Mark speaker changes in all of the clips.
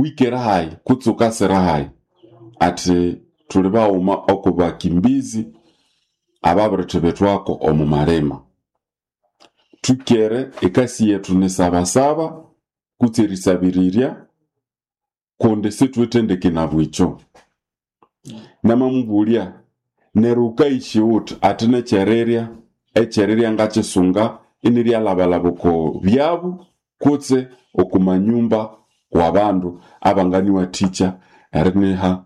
Speaker 1: Wikere hayi kutse ukasira hayi? Ati thuli baghuma oku bakimbizi ababirithibithwako omu malima. Thwikere ekasi yethu ni sabasaba kutse erisabirirya kundi sithuwithe ndeke nabwikyo. Namamubulya, neryo wukayisya wuthi? Ati nekyerirya, ekyerirya ngakyisunga iniryalhabalhaba oko byabu kutse oku manyumba wabandu abanganiwathikya eriniha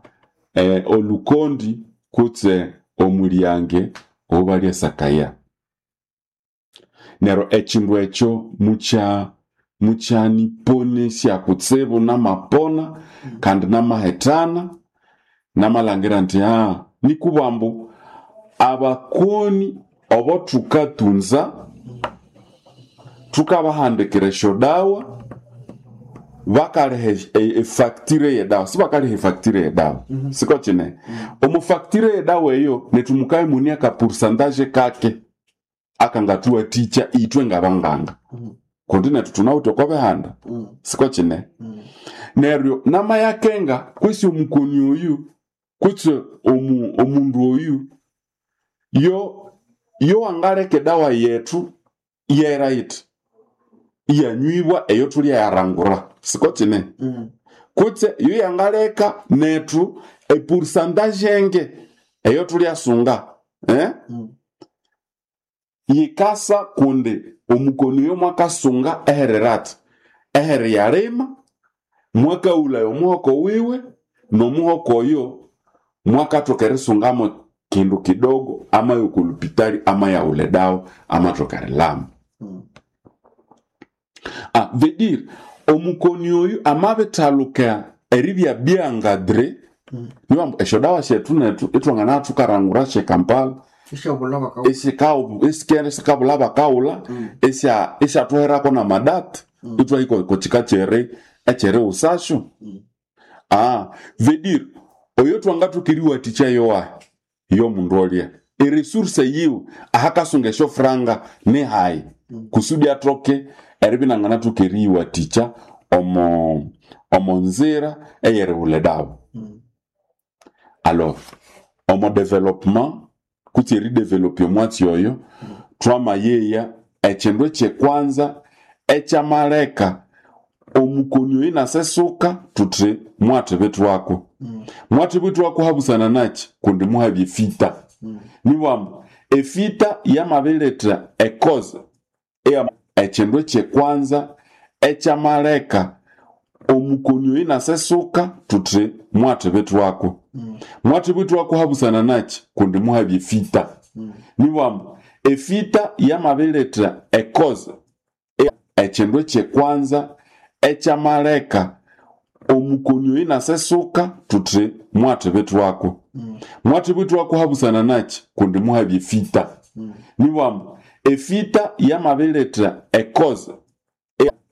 Speaker 1: olukondi kutse omulyange owabalyasakaya. Neryo ekindu ekyo mukyaniponesya kutsibu namapona kandi namahethana, namalhangira indi nikubwa ambu abakoni obo thukatunza thukabahandikira esyodawa, bakaliha efactory yedawa, sibakaliha efactory yedawa, siko kyine? Omu factory yedawa eyo nethu mukabya imune aka pourcentage kake akangathuwathikya ithwe ngabanganga kundi nethu thunawithe oko bihanda, siko kyine? Neryo namayakenga kwesi omukoni oyu kutse omundu oyu yo angaleka edawa yethu iyahera yithi, iyanywibwa eyo thulyayarangura, siko kyine? Kutse yo yangaleka nethu epourcentage enge eyo thulyasunga, Yikasa kundi omukoni oyo mwakasunga eherera athi, ehere yalima, mwakaghulaya omuhoko wiwe, n'omuhoko oyo mwakathoka erisungamo kindu kidogo amaya oko lupitali amayaghulha edawa amathoka erilama. Veut dire omukoni oyu amabithaluka eribya bien encadré, nibambu esyodawa syethu nethu ithwanganabya thukarangura sye Kampala esikabulha bakaghulha, isyathuherako n'amadate, ithwahika oko kika ekyerighusasyo. Veut dire oyo thwangathoka eriwathikya yowahi? Yomundu olya. Eresource yiwe ahakasunga esyofuranga nihayi kusudi athoke eribya inanganathoka eriyiwathikya omo nzira eyerighulha edawa. Alors omo development kutse eridevelopya omwatsi oyo, thwamayeya ekindu ekyekwanza ekyamaleka omukoni oyu inasesuka thuthi mwathibithwako. Mwathibithwako habusana nakyi? Kundi muhabya efita. Nibambu efita yamabiletha ecause ekindu ekyekwanza ekyamaleka omukoni oyu inasesuka thuthi mwathibithwako. Mwathibithwako habusana nakyi? Kundi muhabya efita. Nibambu efita yamabiletha ecause ekindu ekyekwanza ekyamaleka omukoni oyu inasesuka thuthi mwathibithwako. Mwathibithwako habusana nakyi? Kundi muhabya efita. Nibambu efita yamabiletha ecause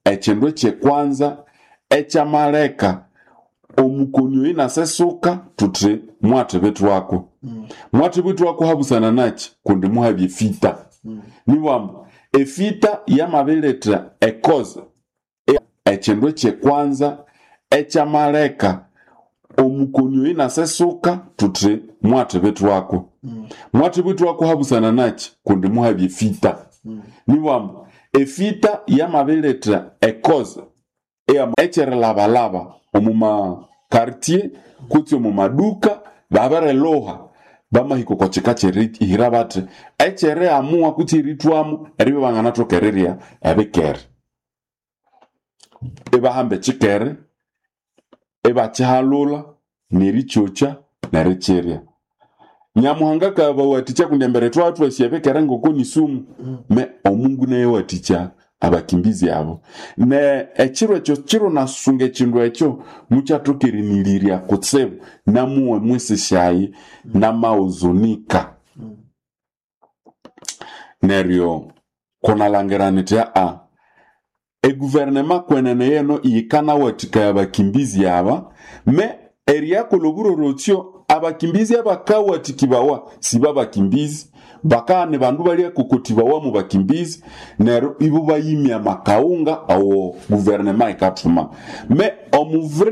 Speaker 1: ekindu ekyekwanza ekyamaleka omukoni oyu inasesuka thuthi mwathibithwako. Mwathibithwako habusana nakyi? Kundi muhabya efita. Nibambu efita yamabiletha ecause ekindu ekyekwanza ekyamaleka omukoni oyu inasesuka thuthi mwathibithwako. Mwathibithwako habusana nakyi? Kundi muhabya efita. Nibambu efita yamabiletha ecause ekyerilhabalhaba omu ma quartier kutse omu maduka babirilhuha bamahika oko kika kyerihira bathi ekyeriamua kutse erithwamo eribya ibanganathoka erirya ebikere. Ibahamba ekyikere ibakyihalhulha nerikyokya nerikyirya. Nyamuhanga akabawathikya kundi embere thwabya thwasi ebikere ngoko ni sumu, me Omungu naye awathikya abakimbizi abo. Ne ekiro ekyo kiro nasunga ekindu ekyo mukyathoka erinilirya kutsibu namuwe mwisi syayi namawuzunika. Neryo kunalhangira nithi eguvernema kwenene yeno yikanawathikaya abakimbizi aba, me eriyakolha oburorotsyo abakimbizi abakawathikibawa sibabakimbizi, bakabya ni bandu balyakokotibawa mu bakimbizi, neryo ibo bayimya amakaghunga awo guvernema yikathuma. Me omuvure